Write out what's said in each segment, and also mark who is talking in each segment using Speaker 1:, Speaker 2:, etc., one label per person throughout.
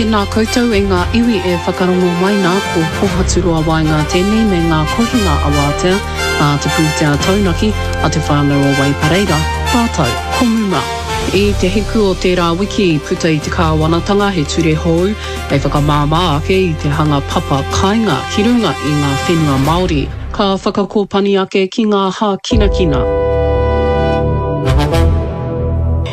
Speaker 1: Tēnā koutou e ngā iwi e whakarongo mai nā, ko Pohaturoa Waenga tēnei me ngā kohinga awātea nā te pūtea taunaki a Te Whānau o Waipareira rātou ko Muma. I te hiku o tērā wiki i puta i te kāwanatanga he ture hou hei whakamāmā ake i te hanga papa kāinga ki runga i ngā whenua Māori. Ka whakakōpani ake ki ngā hākinakina.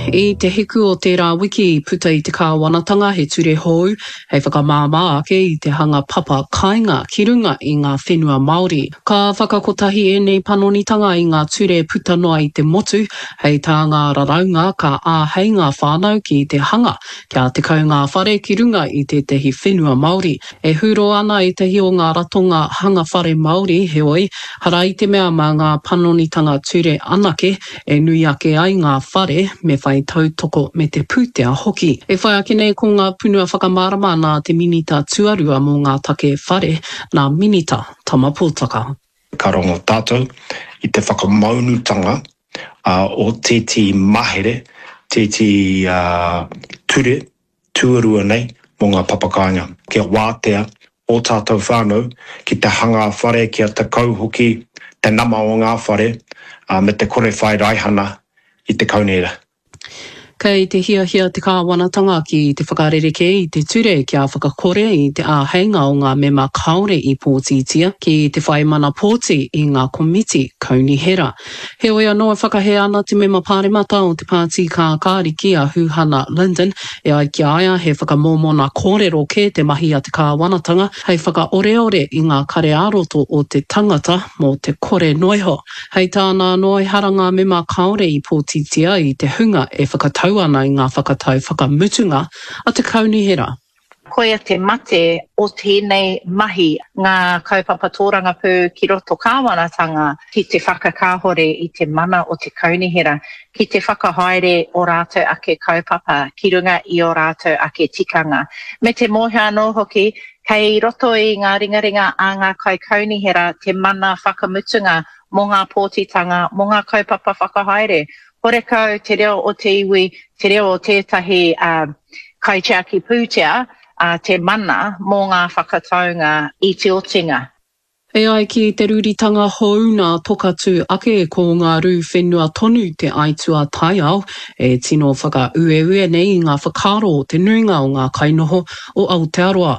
Speaker 1: I te hiku o tērā wiki i puta i te kāwanatanga he ture hou hei whakamāmā ake i te hanga papa kāinga ki runga i ngā whenua Māori. Ka whakakotahi ēnei panonitanga i ngā ture puta noa i te motu, hei tā ngā raraunga ka āhei ngā whānau ki te hanga kia 10 ngā whare ki runga i tētahi whenua Māori. E hūrō ana ētahi o ngā ratonga hanga whare Māori, heoi, hara i te mea mā ngā panonitanga ture anake e nui ake ai ngā whare, me whai tautoko me te pūtea hoki. E whai ake nei ko ngā punua whakamārama nā te Minita Tuarua mō ngā Take Whare, nā Minita Tama Potaka.
Speaker 2: Ka rongo tātou i te whakamaunutanga o tētehi mahere, tētehi ture tuarua nei mō ngā papakāinga, kia wātea ō tātou whānau ki te hanga whare kia 10 hoki te nama o ngā whare me te kore whai raihana i te kaunihera.
Speaker 1: Kei te hiahia te kāwanatanga ki te whakarerekē i te ture kia whakakore i te āheinga o ngā mema kāore i pōtitia ki te whai mana pōti i ngā komiti kaunihera. Heoi anō e whakahē ana te mema pāremata o te Pāti Kākāriki a Huhana Lyndon, e ai ki a ia he whakamōmona kōrero kē te mahi a te kāwanatanga hei whakaoreore i ngā kare ā-roto o te tangata mō te kore noiho. Hei tāna anō ehara ngā mema kāore i pōtitia i te hunga e whakatau ana i ngā whakatau whakamutunga a te kaunihera.
Speaker 3: Koia te mate o tēnei mahi, ngā kaupapa tōrangapū ki roto kāwanatanga ki te whakakāhore i te mana o te kaunihera, ki te whakahaere o rātou ake kaupapa ki runga i ō rātou ake tikanga. Me te mōhio anō hoki, kei roto i ngā ringaringa a ngā kaikaunihera te mana whakamutunga mō ngā pōtitanga, mō ngā kaupapa whakahaere. Horekau te reo o te iwi, te reo o tētahi kaitiaki pūtea te mana mō ngā whakataunga i te otinga.
Speaker 1: E ai ki te rūritanga hou nā Tokatū ake ko ngā rū whenua tonu te aituā taiao e tino whakaueue nei i ngā whakaaro o te nuinga o ngā kainoho o Aotearoa.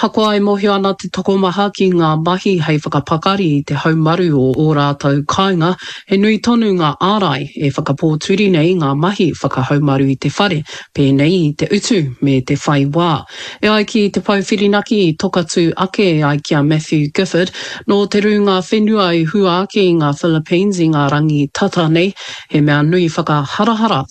Speaker 1: Hakoa e mōhio ana te tokomaha ki ngā mahi hei whakapakari i te haumaru o ō rātou kāinga, he nui tonu ngā ārai e whakapōturi nei ngā mahi whakahaumaru i te whare, pēnei i te utu me te whai wā. E ai ki te pou whirinaki i Tokatū ake e ai ki a Matthew Gifford, nō te rūnga whenua i hua ake i ngā Philippines i ngā rangi tata nei, he mea nui whakaharahara.